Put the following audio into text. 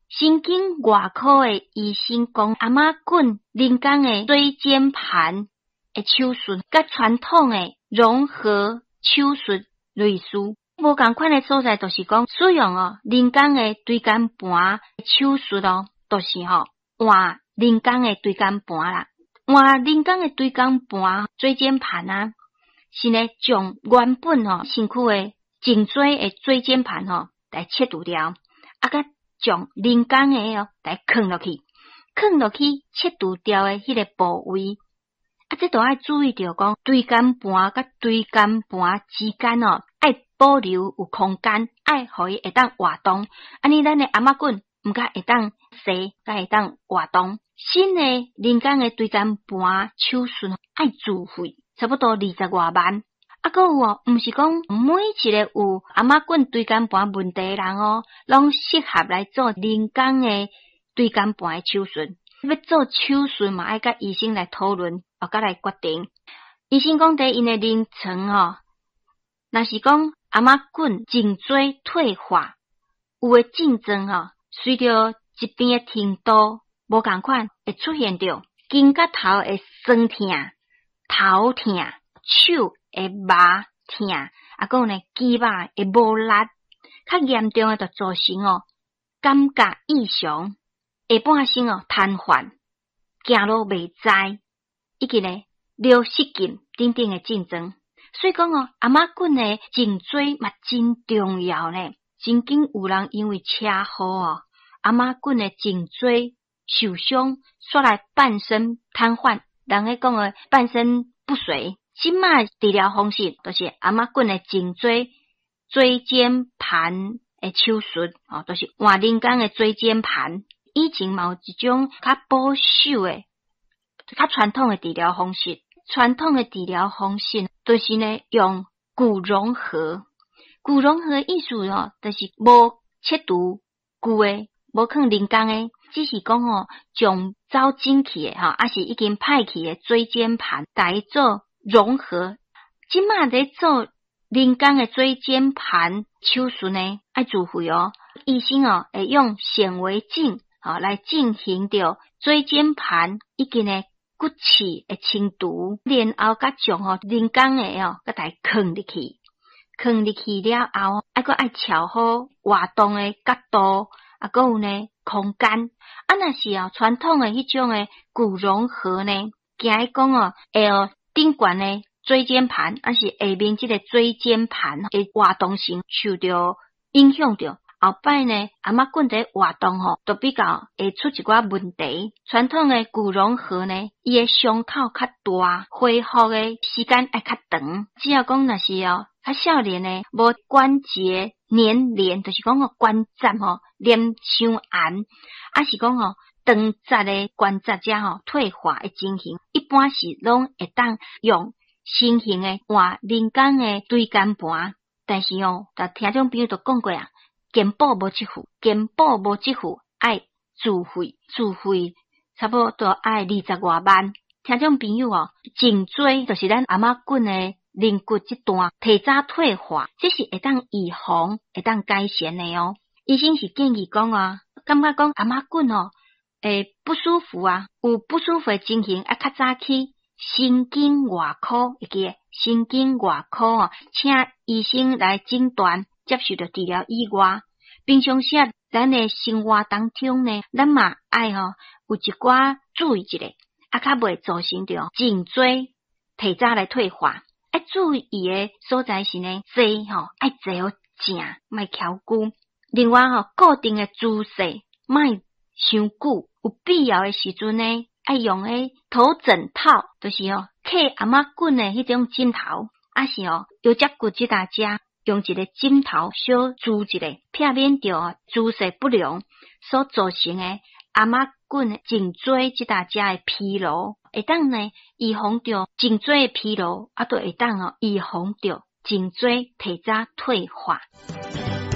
神經外科的醫生講，頷頸人工的椎間盤的手術，佮傳統的融合手術類似，無仝款的所在，就是講使用哦人工的椎間盤手術哦，就是吼換人工的椎間盤啦，換人工的椎間盤椎間盤啊，是呢將原本吼身軀的頸椎的椎間盤吼來切除掉，啊，佮將人工的哦來囥落去，囥落去切除掉的彼個部位，啊，這都愛注意著講椎間盤佮椎間盤之間哦，愛保留有空間，愛予伊會當活動，按呢咱的頷頸毋才會當踅，才會當活動。新的人工的椎間盤手術愛自費，差不多二十外萬。啊，閣有哦，毋是講每一個有頷頸椎間盤問題的人哦，攏適合來做人工的椎間盤的手術。欲做手術嘛，愛佮醫生來討論，哦，佮來決定。醫生講，佇𪜶的臨床吼，若是講頷頸頸椎退化，有的症狀吼，隨著疾病的程度無仝款，會出現著肩胛頭會酸疼、頭疼、手會麻疼，啊，閣有呢肌肉會無力，較嚴重的就造成哦感覺異常，下半身哦癱瘓，行路袂知，以及呢尿失禁等等的症狀。所以講哦，頷頸的頸椎嘛真重要呢。曾經有人因為車禍哦，頷頸的頸椎受傷，煞來半身癱瘓，人咧講的半身不遂。這馬治療方式就是頷頸的頸椎椎間盤的手術，哦，就是換人工的椎間盤。以前嘛有一種較保守的、較傳統的治療方式。傳統的治療方式就是呢用骨融合。骨融合的意思哦，就是無切除舊的，無囥人工的，只是講吼將走進去的吼，抑是已經歹去的椎間盤，共伊做融合。這馬咧做人工的椎間盤手術呢，愛自費哦。醫生哦會用顯微鏡吼來進行著椎間盤以及呢骨刺的清除，然後閣將吼人工的哦，閣共伊囥入去，囥入去了後，愛閣愛調好活動的角度，啊，閣有呢空間。啊，若是哦傳統的彼種的骨融合呢，驚伊講哦會予頂懸的椎間盤，抑是下面這個椎間盤的活動性受著影響著。後擺呢，頷頸佇活動吼，都比較會出一寡問題。傳統的骨融合呢，伊的傷口較大，恢復的時間愛較長。只要講若是哦，較少年的無關節粘連，就是講哦關節吼黏傷嚴，抑是講吼長節的關節遮吼退化的情形，一般是攏會當用新型的換人工的椎間盤。但是哦，聽眾朋友都講過啊。健保無給付，健保無給付，愛自費，自費差不多愛二十外萬。聽眾朋友哦，頸椎就是咱頷頸的龍骨這段提早退化，這是會當預防、會當改善的哦。醫生是建議講啊，感覺講頷頸哦會不舒服啊，有不舒服的情形，愛較早去神經外科，會記得神經外科哦，請醫生來診斷。接受著治療以外，平常時啊，咱的生活當中呢，咱嘛愛吼有一寡注意一下，啊，較袂造成著頸椎提早來退化。愛注意的所在是呢，坐吼愛坐好正，莫蹺龜。另外吼，固定的姿勢莫傷久，有必要的時陣呢，愛用彼頭枕套，就是吼扣頷頸的彼種枕頭，抑是吼腰脊骨這搭遮。用一個枕頭小支一下，避免著姿勢不良所造成的頷頸頸椎這搭遮的疲勞，會當呢預防著頸椎的疲勞，啊，都會當哦預防著頸椎提早退化。